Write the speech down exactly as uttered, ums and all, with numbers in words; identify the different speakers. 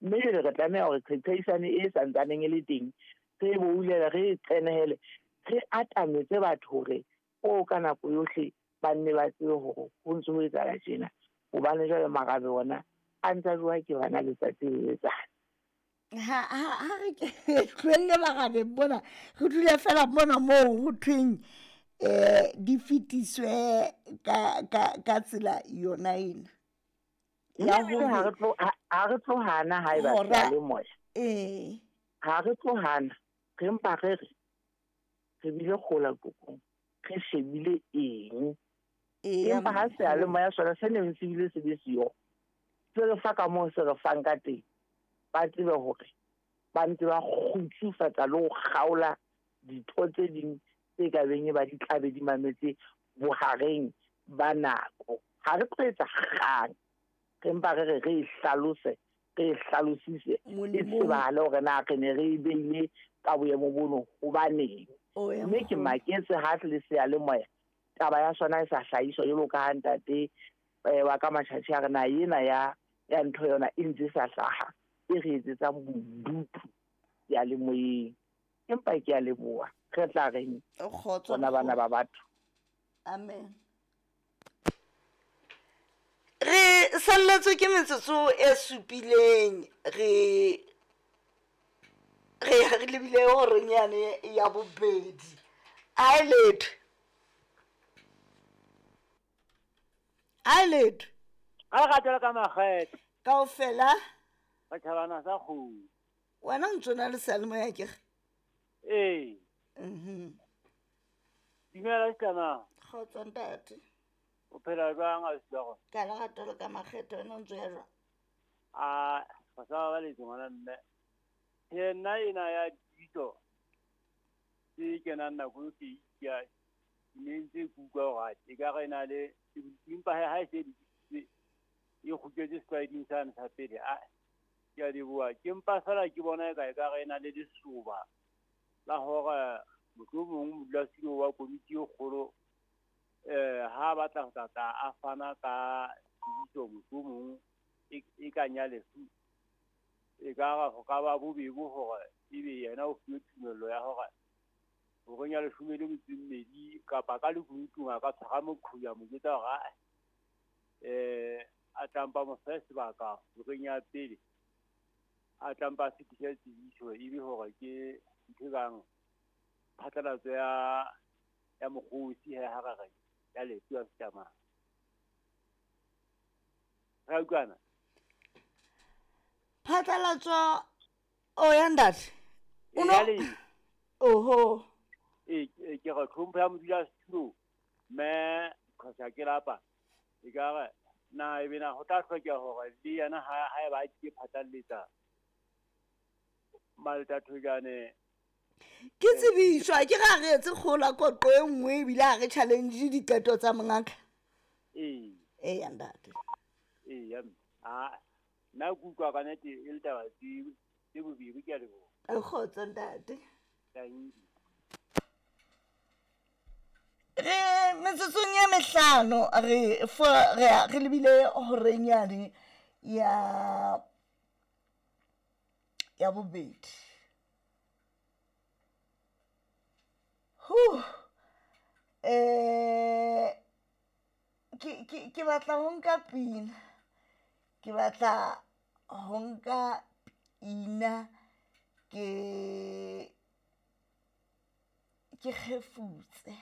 Speaker 1: Mme jwale re tlameha hore qeqeisane e santsaneng e le teng, re e boulele, re e qenehele, re atametse batho hore o ka nako yohle ba nne ba tsebe hore ho ntso ho etsahala tjena. Hobane jwale marabe ona a ntsa jowa ke bana letsatsi le letsatsi.
Speaker 2: Ha ha ha re ke tlohelle marabeng mona, re dule fela mona moo ho thweng eh di fetiswe ka ka ka tsela yona ena.
Speaker 1: Ya hore ha re tlo ha re tlo hana haeba seyalemoya.
Speaker 2: Eh.
Speaker 1: Ha re tlo hana, re mpa re re re bile kgola kokong, re shebile eng. Empa ha seyalemoya sona se neng se bile se be siyo, se re fa ka moo se re fang ka teng, ba tsebe hore ba ntse ba kgutsufatsa le ho kgaola ditho tse ding tse ka beng e ba di tlabe di mametse bohareng ba nako. Ha re tlo etsa kgang, re mpa re re re e hlalose, re e hlalosise, e tsebahale hore na re ne re e beile ka boemo bono hobaneng. Mme ke maketse ha le seyalemoya taba ya sona e sa hlahiswa jwalo ka ha ntate wa ka Matjhatjhe a re na ena ya ya ntho yona e ntse sa hlaha, e re etsetsang bodutu seyalemoyeng. Empa ke a leboha, re tla reng bona bana ba batho.
Speaker 2: Amen. Re salletswe ke metsotso e supileng, re re re lebile horeng yane ya bobedi. A letho. A letho.
Speaker 3: A ratela ka makgethe.
Speaker 2: Kaofela.
Speaker 3: Batjhabana sa kgomo.
Speaker 2: Wena o ntso na le seyalemoya akere?
Speaker 3: Ee.
Speaker 2: Mhm.
Speaker 3: Dumela Setlama.
Speaker 2: Kgotso ntate.
Speaker 3: O phela jwang ausi wa rona?
Speaker 2: Ka lerato le ka makgethe, wena o ntso ya jwang?
Speaker 3: A ba sa ba le ngwana mme. Ke nna ena ya ditso tse kenang nako e ke ya ne ntse ke utlwa hore e ka re na le empa ha e se e kgutletse setlwaeding sane sa pele. A ke a leboha, ke mpa fela ke bona e ka e ka re na le lesoba la hore mohlomong modulasetulo wa komiti e kgolo eh ha batla ho tla a fana ka tsebiso mohlomong e ka nya lefu, e ka re ho ka ba bobebe hore ebe yena o fuwe tumello ya hore horeng ya leshome le metso e mmedi kapa ka lekunutung a ka tshwara moqhuya mo jwetsa hore eh a tlampa mo fe sebaka horeng ya pele, a tlampa a fetise tsebiso ebe hore ke ntho e kang phatlalatso ya ya mokgosi ha re ya lefu ya Setlama. Ra utlwana?
Speaker 2: Phatlalatso o ya ntate. O no oho.
Speaker 3: E ke re tlhompho ya modulasetulo mme kgotsa ke lapa e ka re na ebe na ho tla hlokeha hore le yena ha ha eba a ke phatlaletsa Maltathojane
Speaker 2: ke tsebiswa ke ga re etse kgola koqo e nngwe ebile ha re challenge diqeto tsa mongaka.
Speaker 3: Ee.
Speaker 2: Ee ya ntate.
Speaker 3: Ee ya mme. A nna ke utlwa ka nnete e le taba tse bobebe, ke a leboha.
Speaker 2: Kgotso ntate.
Speaker 3: Thank you.
Speaker 2: Re metsotsong e mehlano re fo re re lebile horeng yane ya ya bobedi. Huh. Eh ke ke ke batla ho nka pina. Ke batla ho nka pina ke ke kgefutse.